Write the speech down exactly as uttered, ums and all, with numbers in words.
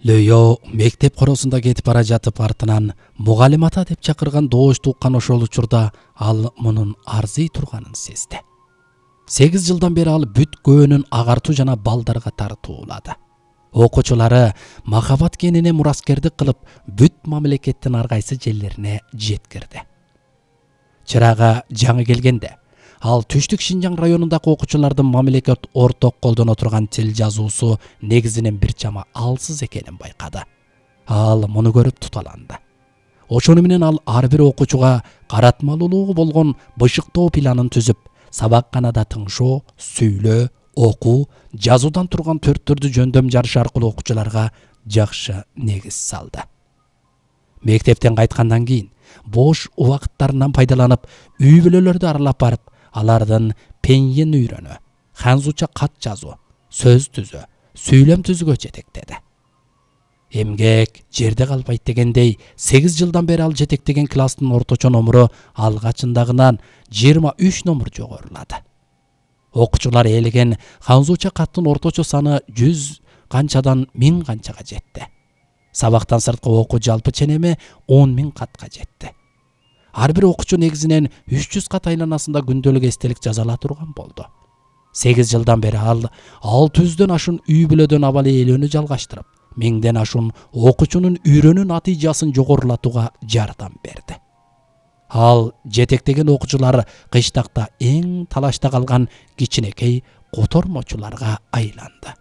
Лөйө мектеп коросунда кетип бара жатып артынан мугалим ата деп чакырган доош туккан ошол учурда ал мунун арзый турганын сезди. Сегиз жылдан бери ал бүт көөнүн агартуу жана балдарга тартуулады. Окуучулары махабат кенине мураскердик кылып, бүт мамлекеттин ар кайсы жерлерине жеткирди. Чырага жаңы келгенде ал Түштүк Шинжаң районундагы окуучулардын мамлекет орток колдоно турган тил жазуусу негизинен бир чама алсыз экенин байкады. Ал муну көрүп туталанды. Ошону менен ал ар бир окуучуга каратмалуулугу болгон бышыктоо планын түзүп, сабакканада тыңшоо, сүйлөө, окуу, жазуудан турган төрттөрдү жөндөм жарыш аркылуу окуучуларга жакшы негиз салды. Мектептен кайткандан кийин бош убакыттарынан пайдаланып, үй бүлөлөрдү аралап барып, алардын пеньен үйрөнө, ханзуча кат жазуу, сөз түзөө, сүйлөм түзүүгө жетектеди. Эмгек жерде калбайт дегендей, сегиз жылдан бери ал жетектеген класстын орточо номуру алгачындагынан жыйырма үч номур жогорулады. Окуучулар ээлеген ханзуча каттын орточо саны жүз канчадан миң канчага жетти. Сабактан сырткы окуу жалпы ченеми он миң катка жетти. Ар бир окуучу негизинен үч жүз кат айланасында күндөлүк эстелик жаза ала турган болду. сегиз жылдан бери ал алты жүздөн ашуун үй бүлөдөн абал ээлөөнү жалгаштырып, миңден ашуун окуучунун үйрөнүү натыйжасын жогорулатууга жардам берди. Ал жетектеген окуучулар кыштакта эң талашта калган кичинекей котормочуларга айланды.